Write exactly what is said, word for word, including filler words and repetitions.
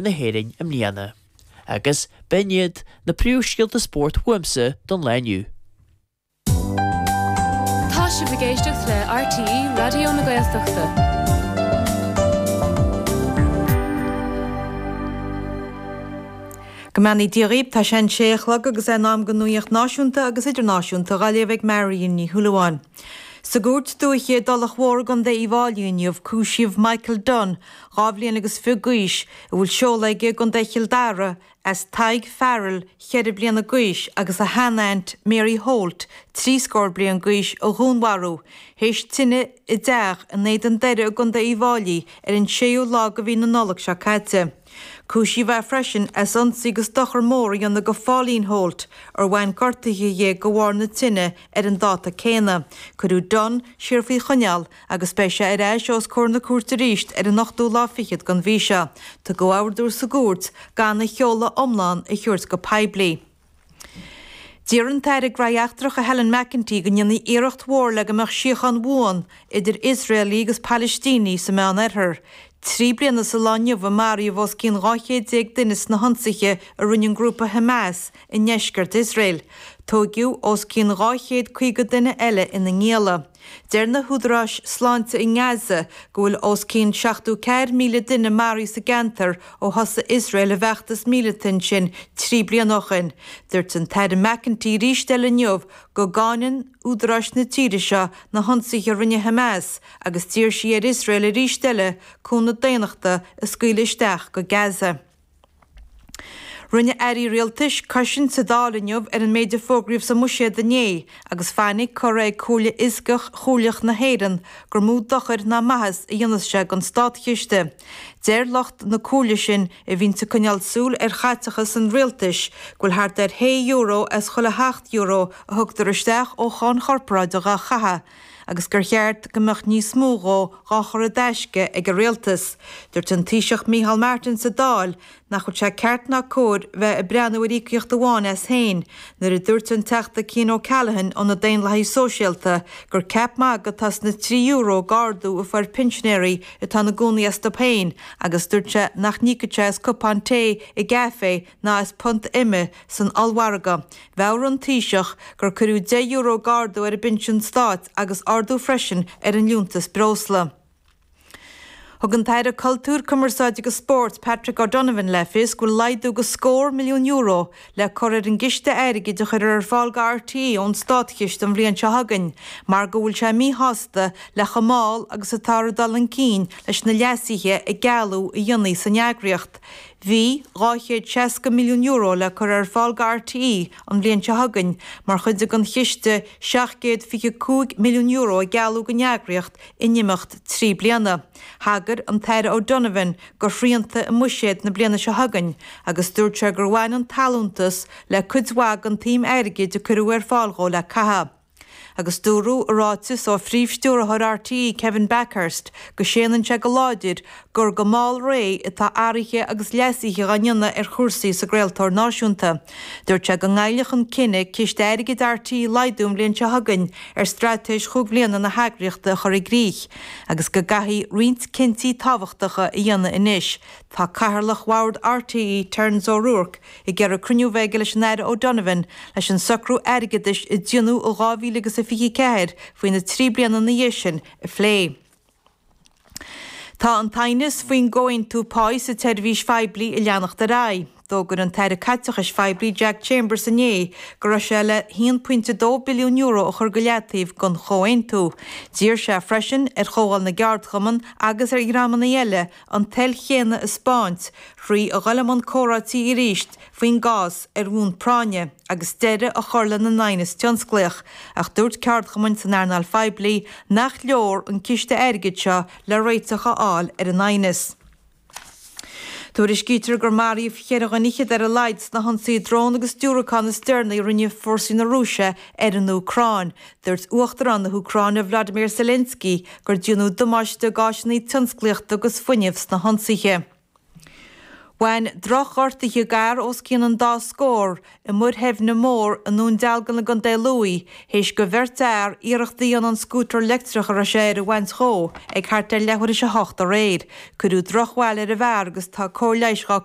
na hÉireann i mbliana. Agus b'in iad na príomhscéalta spóirt uaimse don lá inniu. Tá sibh ag éisteacht le RTÉ Raidió na Gaeltachta. Go mbeannaí Dia dhaoibh, tá sé an sé a chlog agus é in am don nuacht náisiúnta agus idirnáisiúnta á léamh ag Marion Ní Shúilleabháin. Sa gcúirt dúiche i dTulach Mhór i gContae Uíbh Fháilí inniu, cúisíodh Michael Dunne, dhá bhliain agus fiche d'aois, a bhfuil seoladh aige i gContae Chill Dara, as Tadhg Farrell, cheithre bliana d'aois, agus a shean-aint Mary Holt, trí scór bliain d'aois, a dhúnmharú, théis tine i dteach in Éadan Doire i gContae Uíbh Fháilí ar an séú lá de mhí na Nollag seo caite. Cúisíodh é freisin as ionsaí agus dochar mór a dhéanamh do Pháulín Holt, ar bhain gortuithe di de bharr na tine ar an dáta céanna. Cuireadh Dunne siar faoi choinneáil agus beidh sé ar ais os comhair na cúirte arís ar an ochtú lá fichead den mhí seo. Tugadh ordú sa gcúirt gan a sheoladh iomlán a thabhairt go poiblí. D'iarr an tAire Gnóthaí Eachtracha Helen McEntee go ndéanfaí iarracht mhór le go mbeadh síocháin bhuan idir Iosraelaigh agus Palaistínigh sa Meánoirthear. Trí bliana sa lá inniu a maraíodh os cionn dhá chéad déag duine sna hionsaithe a rinne an grúpa Hamas i ndeisceart Iosrael. Tóigeadh os cionn dhá chéad caoga duine eile ina ngialla. Deir na húdaráis sláinte i nGaza go bhfuil os cionn seachtó ceathair míle duine maraithe sa gceantar ó thosaigh Iosrael a bhfeachtas míleata ansin trí bliana ó shin. Dúirt an tAire McEntee arís eile inniu go gcáineann údaráis na tíre seo na hionsaithe a rinne Hamas agus d'iarr sí ar Iosrael arís eile cúnamh daonnachta a scaoileadh isteach go Gaza. Rinne airí rialtais cosaint sa Dáil inniu ar an méid a fógraíodh sa mbuiséad inné agus fainic curtha ag Comhairle Fhioscach Chomhairleach na hÉireann gur mó dochair ná maitheas a dhéanfas sé don státchiste. Deir lucht na comhairle sin, a bhíonns ag coinneáil súil ar chaiteachas an rialtais, go bhfuil thart ar shé euro as chuile sheacht euro a thugtar isteach ó cháin chorparáideach á chaitheamh agus gur cheart go mbeadh níos mó dhó dhá chur i dtaisce ag an rialtas. Dúirt an Taoiseach Micheál Martin sa Dáil nach bhfuil sé ceart ná cóir bheith ag breathnú ar íocaíocht amháin as féin nuair a dúirt an Teachta Cian O'Callaghan ó na Daonlathaigh Sóisialta gur ceap magaidh atá sna trí euro d'ardú a fuair pinsinéirí atá ina gcónaí astu féin agus dúirt sé nach n-íocfadh sé as cupán tae i gcaife ná as punt ime san ollmhargadh. Mheabhraigh an Taoiseach gur cuireadh deich euro d'ardú ar an bpinsean stáit agus ardú freisin ar an liúntas breosla. Thug an tAire Cultúir, Cumarsáide agus Spóirt, Patrick O'Donovan le fios go bhfuil laghdú de scór milliún euro le cur ar an gciste airgid a chuirfear ar fáil do RTÉ ón státchiste an bhliain seo chugainn mar go bhfuil sé míshásta le chomh mall agus atáthar ag dul chun cinn leis na leasuithe a gealladh a dhéanamh san eagraíocht. Bhí dhá chéad seasca milliún euro le cur ar fáil do RTÉ an bhliain seo chugainn mar chuid den chiste seacht gcéad fiche cúig milliún euro a gealladh don eagraíocht in imeacht trí bliana. Thagair an tAire O'Donovan do shrianta i mbuiséad na bliana seo chugainn agus dúirt sé gur bhain an t-allúntas le cuid mhaith den tsuim airgid a cuireadh ar fáil dhó le caitheamh. Agus dúradh i ráiteas ó Phríomh-Stiúrthóir RTÉ, Kevin Bakhurst, go séanann sé go láidir gur go mall réidh atá athruithe agus leasuithe á ndéanamh ar chúrsaí sa gcraoltóir náisiúnta. Dúirt sé go ngoillfeadh an cinneadh ciste airgid RTÉ a laghdú an bhliain seo chugainn ar straitéis chúig bhliana na heagraíochta a chur i gcrích agus go gcaithfí roinnt cinntí tábhachtacha a dhéanamh anois. Tá Cathaoirleach Bhord RTÉ, Terence O'Rourke, ag iarraidh cruinniú a bheith aige leis an Aire O'Donovan leis an socrú airgeadais a déanadh i dhá mhíle agus a fiche ceathair faoi na trí bliana ina dhiaidh sin a phlé. Tá an t-aighneas faoin gcomhaontú páí sa tseirbhís phoiblí ag leanacht ar aghaidh. D'fhógair an tAire Caiteachais Phoiblí Jack Chambers inné go raibh sé le haon pointe dó billiún euro a chur go leataobh don chomhaontú. D'iarr sé freisin ar Chomhdháil na gCeardchumann agus ar dhreamanna eile an toil chéanna a 'spáint thrí a dhul i mbun comhráití arís faoin gcás ar bhonn práinne agus deireadh a chur lena n-aighneas tionsclaíoch, ach dúirt ceardchumainn san earnáil phoiblí nach leor an ciste airgid seo le réiteach a fháil ar an aighneas. Tuairiscítear gur maraíodh cheithre dhuine fhichead ar a laghad sna hionsaithe drón agus diúracán is deireanaí a rinne fórsaí na Rúise ar an Úcráin. Dúirt Uachtarán na hÚcráine Vladimir Zelensky gur déanadh damáiste d'áiseanna tionsclaíochta agus fuinnimh sna hionsaithe. Bhain drochghortuithe d'fhear os cionn an dá scór i Muir Theimhne Mór i nDún Dealgan i gContae Lú théis do bheirt fhear iarracht a dhéanamh an scútar leictreach a raibh sé air a bhaint dhó ag thart ar leathuair théis a hocht aréir. Cuireadh drochbhail ar an bhfear agus tá cóir leighis dhá